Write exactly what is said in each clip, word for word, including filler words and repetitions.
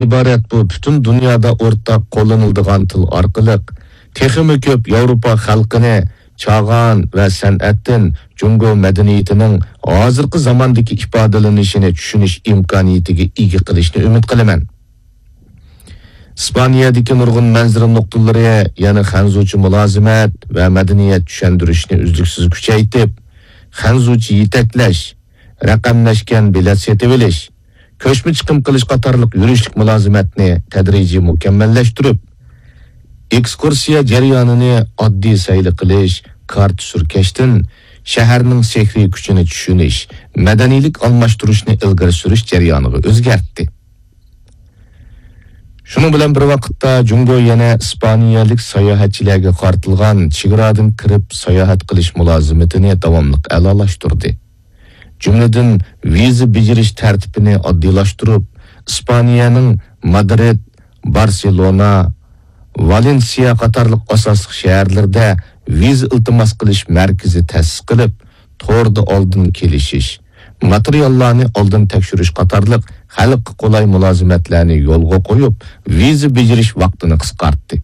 ئىبارەت بۇ پۈتۈن دۇنيادا ئورتاق قوللىنىلىدىغان تىل ئارقىلىق تېخىمۇ كۆپ ياۋروپا خەلقىنى چاغان ۋە سەنئەتتىن جۇڭگو مەدەنىيىتىنىڭ ھازىرقى زاماندىكى ئىپادىلىنىشىنى چۈشىنىش ئىمكانىيىتىگە ئىگە قىلىشنى ئۈمىد قىلىمەن. ئىسپانىيەدىكى نۇرغۇن مەنزىرە نۇقتىلىرى يەنە خەنزۇچە مۇلازىمەت ۋە مەدەنىيەت چۈشەندۈرۈشنى ئۈزلۈكسىز كۈچەيتىپ، خەنزۇچە يېتەكلەش، رەقەملەشكەن بېلەت سېتىۋېلىش، كۆچمە چىقىم قىلىش قاتارلىق يۈرۈشلۈك مۇلازىمەتنى تەدرىجىي مۇكەممەللەشتۈرۈپ، ئېكسكۇرسىيە جەريانىنى ئاددىي سەيلە قىلىش، كارتا سۈركەشتىن شەھەرنىڭ سېھرىي كۈچىنى چۈشىنىش، مەدەنىيلىك ئالماشتۇرۇشنى ئىلگىرى سۈرۈش جەريانىغا ئۆزگەرتتى. شۇنىڭ بىلەن بىر ۋاقىتتا، جۇڭگو يەنە ئىسپانىيەلىك ساياھەتچىلەرگە قارىتىلغان چېگرادىن كىرىپ ساياھەت قىلىش مۇلازىمىتىنى داۋاملىق ئەلالاشتۇردى. جۈملىدىن، ۋىزا بېجىرىش تەرتىپىنى ئاددىيلاشتۇرۇپ، ئىسپانىيەنىڭ مادرىد، بارسېلونا، ۋالېنسىيە قاتارلىق ئاساسلىق شەھەرلىرىدە ۋىزا ئىلتىماس قىلىش مەركىزى تەسىس قىلىپ، توردا ئالدىن كېلىشىش، ماتېرىياللارنى ئالدىن تەكشۈرۈش قاتارلىق خەلققە قولاي مۇلازىمەتلەرنى يولغا قويۇپ، ۋىزا بېجىرىش ۋاقتىنى قىسقارتتى.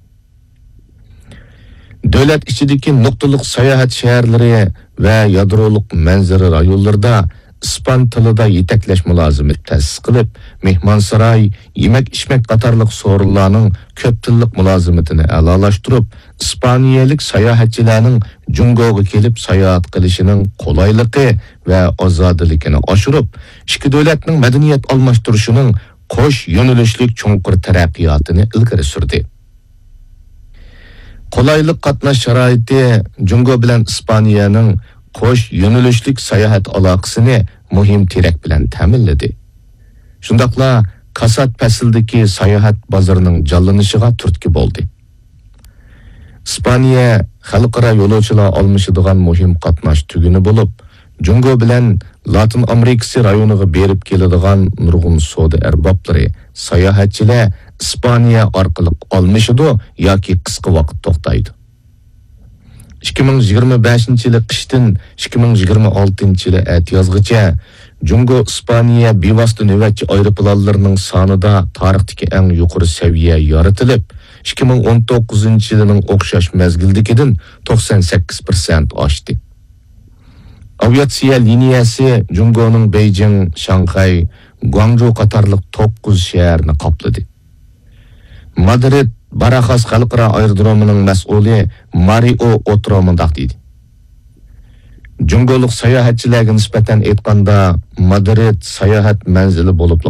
دۆلەت ئىچىدىكى نۇقتىلىق ساياھەت شەھەرلىرى ۋە يادرولۇق مەنزىرە رايونلىرىدا ئىسپان تىلىدا يېتەكلەش مۇلازىمىتى تەسىس قىلىپ، مېھمانساراي، يېمەك-ئىچمەك قاتارلىق سورۇنلارنىڭ كۆپ تىللىق مۇلازىمىتىنى ئەلالاشتۇرۇپ، ئىسپانىيەلىك ساياھەتچىلەرنىڭ جۇڭگوغا كېلىپ ساياھەت قىلىشىنىڭ قولايلىقى ۋە ئازادىلىكىنى ئاشۇرۇپ، ئىككى دۆلەتنىڭ مەدەنىيەت ئالماشتۇرۇشىنىڭ قوش يۆنىلىشلىك چوڭقۇر تەرەققىياتىنى ئىلگىرى سۈردى. قولايلىق قاتناش شارائىتى جۇڭگو بىلەن ئىسپانىيەنىڭ قوش يۆنىلىشلىك ساياھەت ئالاقىسىنى مۇھىم تىرەك بىلەن تەمىنلىدى. شۇنداقلا كاسات پەسلىدىكى ساياھەت بازىرىنىڭ جانلىنىشىغا تۈرتكە بولدى. ئىسپانىيە خەلقئارا يولۇچىلار ئالمىشىدىغان مۇھىم قاتناش تۈگۈنى بولۇپ، جۇڭگو بىلەن لاتىن ئامېرىكىسى رايونىغا بېرىپ كېلىدىغان نۇرغۇن سودا ئەربابلىرى، ساياھەتچىلەر ئىسپانىيە ئارقىلىق ئالمىشىدۇ ياكى قىسقا ۋاقىت توختايدۇ. ئىككى مىڭ يىگىرمە بەشىنچى يىلى قىشتىن ئىككى مىڭ يىگىرمە ئالتىنچى يىلى ئەتىيازغىچە جۇڭگو ئىسپانىيە بىۋاسىتە نۆۋەتچى ئايروپىلانلىرىنىڭ سانىدا تارىختىكى ئەڭ يۇقىرى سەۋىيە يارىتىلىپ، ئىككى مىڭ ئون توققۇزىنچى يىلىنىڭ ئوخشاش مەزگىلدىكىدىن توقسان سەككىز پىرسەنت ئاشتى. ئاۋىئاتسىيە لىنىيەسى جۇڭگونىڭ بېيجىڭ، شاڭخەي، گۇاڭجۇ قاتارلىق توققۇز شەھەرنى قاپلىدى. مادرىد باراخاس خەلقئارا ئايرودرومىنىڭ مەسئۇلى مارىئو ئوترو مۇنداق دېدى: جۇڭگولۇق ساياھەتچىلەرگە نىسبەتەن ئېيتقاندا، مادرىد ساياھەت مەنزىلى بولۇپلا